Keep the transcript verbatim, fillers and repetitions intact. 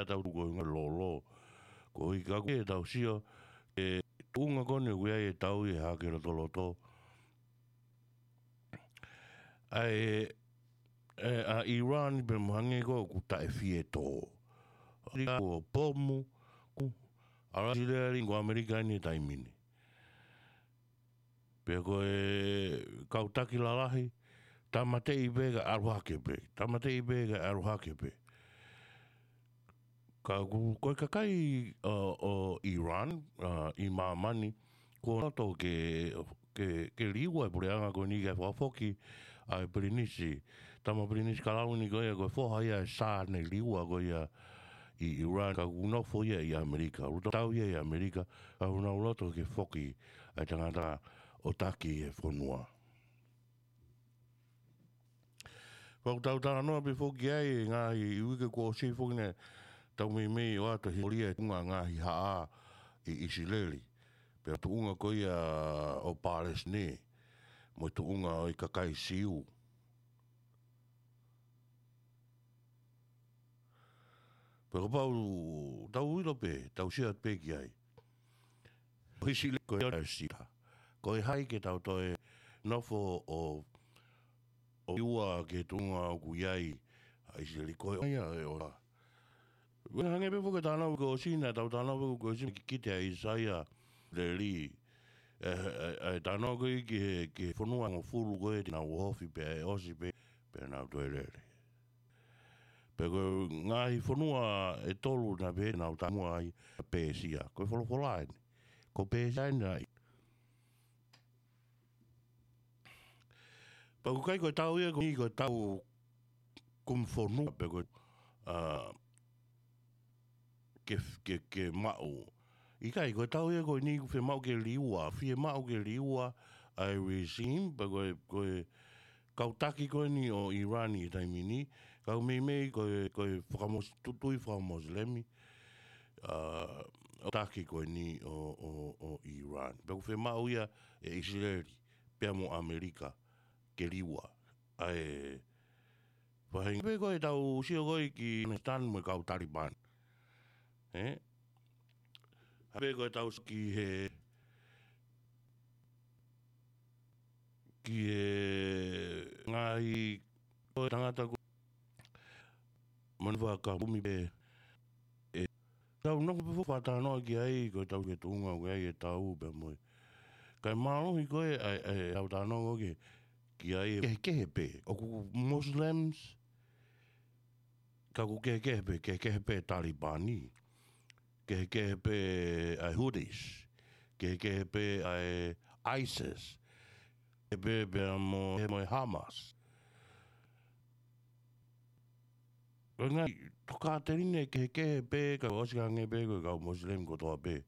tau tuku ʻi he ngaahi lolo. Ko e ʻikai ke tau sio, ʻe tuʻunga ko eni ʻoku ʻi ai e tau ʻi he hake lotoloto. ʻA e, ʻe, ʻa Iran pē mo hangē ko ē ʻoku taʻe fie tō. ʻIkai ko e pomu, ko ʻAlasili ko ʻAmelika eni he taimi ni. Pea ko e kau taki lalahi, tāmateʻi pē kae ʻalu hake pē, tāmateʻi pē kae ʻalu hake pē. Ka ʻoku, ko e kakai, ʻo, ʻo Iran, ʻa, ʻi māmani, kuo loto ke, ke, ke liua e puleʻanga ko eni ke fakafoki ʻa e Pilinisi, tama Pilinisi Kalauni ko ia, ko e foha ia ʻo e Sā naʻe liua ko ia ʻi Iran, ka ʻoku nofo ia ʻi ʻAmelika, ʻoku tau ia ʻi ʻAmelika, ka ʻoku nau loto ke foki ʻa e tangata ʻo taki e fonua. Pea ʻoku tau talanoa pē foki ai, ngaahi uike kuo ʻosi foki naʻe tau meimei ʻoatu e hisitōlia e tuʻunga ngaahi haʻa ʻi ʻIsileli. Pea tuʻunga ko ia ʻo Palesitaine, mo e tuʻunga ʻo e kakai Siu. Pea kapau tau ʻilo pē, tau sio pē ki ai. Ko ʻIsileli ko e sita. Ko e hā ke tau toe nofo ʻo, ʻo liua ki he tuʻunga ʻoku ʻi ai ʻa ʻIsileli ko e ʻoia e ola. Pea hangē pē foki e talanoa ko ē ʻosi naʻa tau talanoa pē ko ē ʻosi ki he kikite ʻa ʻIsaia leli. ʻE, ʻe, ʻe talanoa ko ē ki he, ki he fonua hongofulu ko ē te nau ofi pē, ʻe ʻosi pē, pea nau toe lele. Pea ko e ngaahi fonua ʻe tolu naʻe pehē naʻa nau tamuʻa ai, Pēsia. Ko e folofola eni. Ko Pēsia eni ai. Pea ʻoku ʻikai ko e tau ia ko eni ko e tau kumi fonua, pe ko e, ʻa, ke, ke, ke maʻu. ʻIkai, ko e tau ia ko eni ʻoku fiemaʻu ke liua, fiemaʻu ke liua ʻa e regime, pe ko e, ko e kau taki ko eni ʻo Iran ʻi he taimi ni, kau meimei ko e, ko e fakamos-, tu-, tui fakamosilemi, ʻa, ʻo taki ko eni ʻo, ʻo, ʻo Iran. Pea ʻoku fiemaʻu ia ʻe ʻIsileli, pea mo ʻAmelika, ke liua. ʻA e, faʻahinga pē ko ē tau sio ko ē ki Afghanistan mo e kau Taliban. ʻE? Hangē pē ko ē tau sio ki he, ki he ngaahi ko e tangata ko ē mo ʻene fakakumi pē ʻe tau nofo pē foki ʻo talanoa ki ai, ko e tau ki he tuʻunga ʻoku ʻi ai e tau pea mo e. Kae mālohi ko ē ʻa e, ʻa e, ʻa e talanoa ko ē ki ai, kehekehe pē. ʻOku Muslims, ka ʻoku kehekehe pē, kehekehe pē Talibani. Kehekehe pē ʻa e Houthis. Kehekehe pē ʻa e ISIS. Kehekehe pē pea mo, mo e Hamas. Ko e ngaahi tokāteline kehekehe pē, ka ʻosi hangē pē ko e kau Muslim kotoa pē.